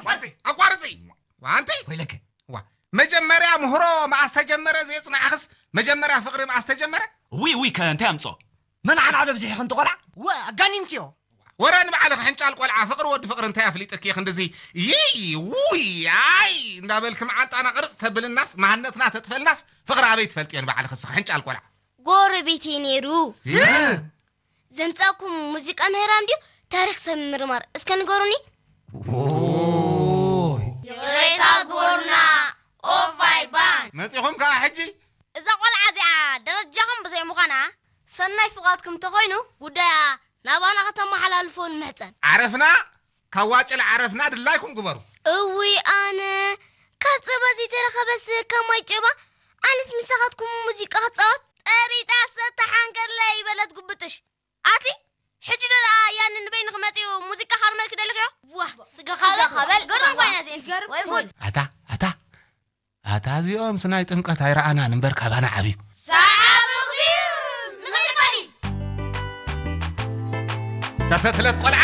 ኣቋርፂ ኣቋርፂ። ዋንቲ ወይለከ ዋ፣ መጀመርያ ምህሮ መኣስ ተጀመረ? ዘየፅናዕኽስ መጀመርያ ፍቕሪ መኣስ ተጀመረ? ዊ ዊ ከ እንታይ ኣምፅኦ? መን ዓና በብዚሕኽን ትቆልዓ? ወ ኣጋኒንክዮ። ወረ ንባዕልኺ ሕንጫል ቆልዓ፣ ፍቕሪ ወዲ ፍቕሪ እንታይ ኣፍሊጥኪ? ክንድዚ ይይ ውይ ኣይ እንዳበልኪ መዓንጣና ቅርፅ ተብልናስ መሃነትና ተጥፈልናስ ፍቕሪ ኣበይ ትፈልጥዮ ንባዕልኺ እስኺ ሕንጫል ቆልዓ? ጎረቤተይ ነይሩ። ዘምጻእኩም ሙዚቃ ምህራም ድዩ ታሪኽ ሰብ ምርማር? እስከ ንገሩኒ። ይቕሬታ ግበሩና ኦፋይ ባንድ። መጺኹም ከኣ ሕጂ? እዛ ቆልዓ እዚኣ ደረጃኹም ብዘይ ምዃና፣ ሰናይ ፍቓድኩም እንተኾይኑ ጉዳያ ናባና ከተመሓላልፎ ንምሕጸን። ዓረፍና ካብ ዋጭል ዓረፍና ድላይኩም ግበሩ። እውይ ኣነ ካብ ጸባ ዘይተረኸበስ ካብ ማይ ጨባ። ኣነስ ምሳኻትኩም ሙዚቃ ክጻወት። ጠሪጣ ሰታ ሓንገርለይ በለት ጉብጥሽ። ኣቲ ሕጂ ዶ ደኣ ያኒ ንበይንኺ መጺኡ ሙዚቃ ከርመልኪ ደሊኽዮ? ዋ ስጋኻ በል። ገርም ኮይና እዚኤን። ወይ ጉድ። ኣታ ኣታ ኣታ እዚኦም ስናይ ጥምቀት ኣይረኣናን እምበር ካባና ዓብዩ። ሰሓብ እኽቢር ንኽእል ባዲ። ተፈትለት ቆልዓ